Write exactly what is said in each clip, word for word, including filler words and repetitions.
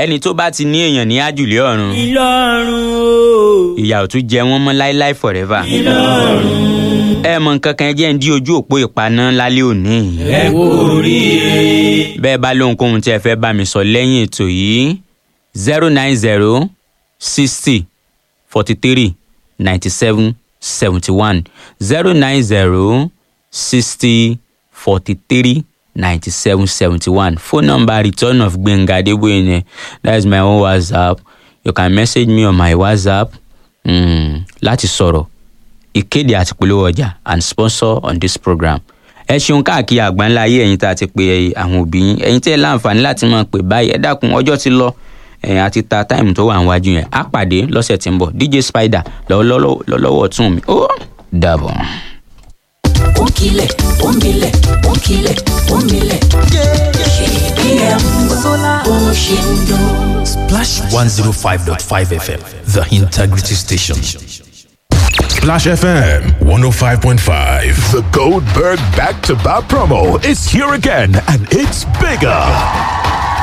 Ẹni tó bá ti ní èèyàn ní àjùlé ọ̀run, Ìlọrun o. ìyà ò tún jẹ wọ́n mọ́ láíláí forever. Ìlọrun. Ẹ mọ nǹkan kan, ẹ jẹ́ ń dí ojú òpó ìpaná lálẹ́ òní. Ẹ kú oríire. Bẹ́ẹ̀ bá lóhunkóhun tí ẹ fẹ́ bá mi sọ lẹ́yìn ètò yìí, zero nine zero sixty forty three ninety seven seventy one, zero nine zero sixty forty three ninety seven seventy one, phone number Return of Gbenga Adeboye ni. That is my own WhatsApp. You can message me on my WhatsApp mm, láti sọ̀rọ̀, ìkéde àti polówó ọjà and sponsor on this program. Ẹ ṣeun káàkiri àgbáńlá ayé, ẹ̀yin tá a ti pe àwọn òbí yín, ẹ̀yin tẹ́ ẹ láǹfààní láti máa pè báyìí, ẹ dákun, ọjọ́ ti lọ ẹ̀yin àti ta táìmù tó wà níwájú yẹn. Á pàdé lọ́sẹ̀ tí ń bọ̀. D J Spider lọ́wọ́ tún mi, ó dàbọ̀. Ònkílẹ̀ òǹbilẹ̀ ònkílẹ̀ òǹbilẹ̀ K B M bó ṣe ń dún. Splash one oh five point five F M, the integrity station. Splash F M one oh five point five. The Goldberg Back to Back promo is here again and it's bigger.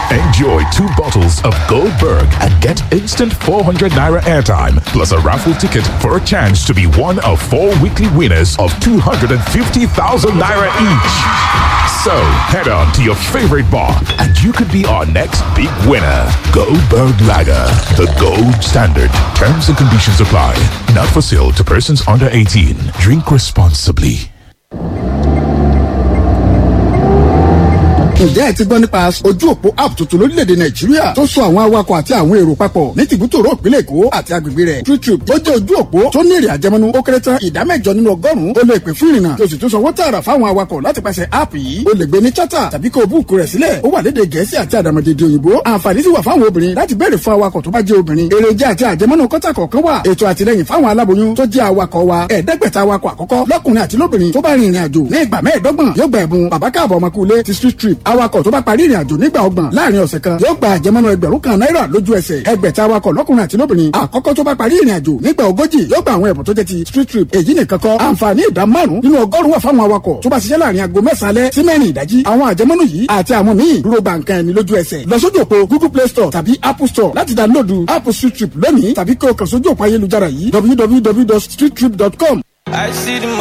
Enjoy two bottles of Goldberg and get instant four hundred naira airtime plus a raffle ticket for a chance to be one of four weekly winners of two hundred fifty thousand naira each. So head on to your favorite bar and you could be our next big winner. Goldberg Lager, the gold standard. Terms and conditions apply. Not for sale to persons under eighteen. Drink responsibly. Ǹjẹ́ ẹ ti gbọ́ nípa ojú òpó app tuntun lórílẹ̀‐èdè Nàìjíríà tó so àwọn awakọ̀ àti àwọn èrò papọ̀ ní tìbútòrò ìpínlẹ̀ Èkó àti agbègbè rẹ̀? TrueTrip tó jẹ́ ojú òpó tó ní èrè àjẹmọ́nú ó kéré tán ìdá mẹ́jọ nínú ọgọ́rùn-ún. Ó lè pè fún ìrìnnà tó sì tún sanwó tààrà fáwọn awakọ̀ láti pàṣẹ app yìí. Ó lè gbé ní charter tàbí kó o book rẹ̀ sílẹ̀. Ó wà lédè Gẹ̀ẹ́sì àti àdàmọ̀dèdè òyìnbó. Àǹfààní sì wà fáwọn obìnrin láti béèrè fún awakọ̀ tó bá jẹ́ obìnrin. Èrèjà àti àjẹmọ́nú kọ́tà kọ̀ọ̀kan wà. Ètò àtìlẹyìn fáwọn aláboyún tó jẹ́ awakọ̀ wa, ẹ̀ẹ́dẹ́gbẹ̀ta awakọ̀ àkọ́kọ́ lọ́kùnrin àti lóbìnrin tó bá rin ìrìn àjò ní ìgbà mẹ́ẹ̀ẹ́dọ́gbọ̀n yóò gba ẹ̀bùn bàbá káàbọ̀ ọmọkùnrin ti Street Trip. Awakọ̀ tó bá parí ìrìn àjò nígbà ọgbọ̀n láàrin ọ̀sẹ̀ kan yóò gba àjẹmọ́nú ẹgbẹ̀rún kan náírà lójú ẹsẹ̀. Ẹgbẹ̀ta awakọ̀ lọ́kùnrin àti lóbìnrin àkọ́kọ́ tó bá parí ìrìn àjò nígbà ogójì yóò gba àwọn ẹ̀bùn tó jẹ́ ti Street Trip. Èyí nìkan kọ́, àǹfààní ìdá márùn-ún nínú ọgọ́rùn-ún wà fáwọn awakọ̀ tó bá ṣiṣẹ́ láàrin aago mẹ́sàn-án alẹ́ sí mẹ́rin ìdájí. Àwọn àjẹmọ́nú yìí àti àwọn míì dúró gba nǹkan ẹni lójú ẹsẹ̀. Lọ sójú òpó Google Play Store tàbí Apple Store láti download app Street Trip lónìí tàbí kí o kàn sójú òpó ayélujára yìí, w w w dot streettrip dot com. I see the